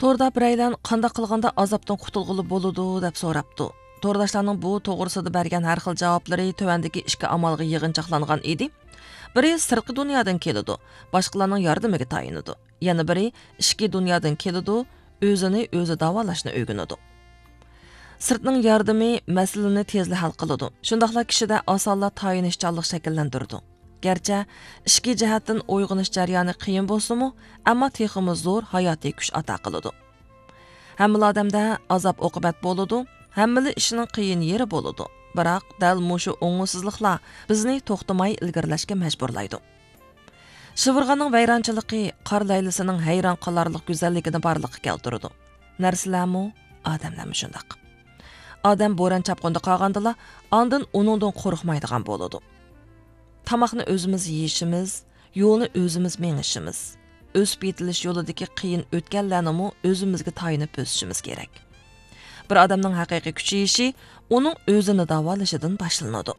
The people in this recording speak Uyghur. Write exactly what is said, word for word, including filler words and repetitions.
توردا بىرەيلەن قانداق قىلغاندا ئازابتىن قۇتۇلغىلى بولىدۇ دەپ سوراپتۇ. تورداشلارنىڭ بۇ توغرىسىدا بەرگەن ھەر خىل جاۋابلىرى تۆۋەندىكى ئىككى ئامالغا يىغىنچاقلانغان ئىدى. بىرى سىرتقى دۇنيادىن كېلىدۇ، باشقىلارنىڭ ياردىمىگە تايىنىدۇ. يەنە بىرى ئىچكى دۇنيادىن كېلىدۇ، ئۆزىنى ئۆزى داۋالاشنى ئۆگىنىدۇ. سىرتنىڭ ياردىمى مەسىلىنى تېزلا ھەل قىلىدۇ، شۇنداقلا كىشىدە ئاسانلا تايىنىشچانلىق شەكىللەندۈرىدۇ. گەرچە ئىچكى جەھەتتىن ئويغىنىش جەريانى قىيىن بولسىمۇ، ئەمما تېخىمۇ زور ھاياتىي كۈچ ئاتا قىلىدۇ. ھەممىلا ئادەمدە ئازاب ئوقۇبەت بولىدۇ، ھەممىلا ئىشنىڭ قىيىن يېرى بولىدۇ. بىراق دەل مۇشۇ ئوڭۇشسىزلىقلار بىزنى توختىماي ئىلگىرىلەشكە مەجبۇرلايدۇ. شىۋىرغاننىڭ ۋەيرانچىلىقى قار لەيلىسىنىڭ ھەيران قالارلىق گۈزەللىكىنى بارلىققا كەلتۈرىدۇ. نەرسىلەرمۇ، ئادەملەرمۇ شۇنداق. ئادەم بوران چاپقۇندا قالغاندىلا، ئاندىن ئۇنىڭدىن قورقمايدىغان بولىدۇ. تاماقنى ئۆزىمىز يېيىشىمىز، يولنى ئۆزىمىز مېڭىشىمىز، ئۆسۈپ يېتىلىش يولىدىكى قىيىن ئۆتكەللەرنىمۇ ئۆزىمىزگە تايىنىپ بۆسۈشىمىز كېرەك. بىر ئادەمنىڭ ھەقىقىي كۈچىيىشى ئۇنىڭ ئۆزىنى داۋالىشىدىن باشلىنىدۇ.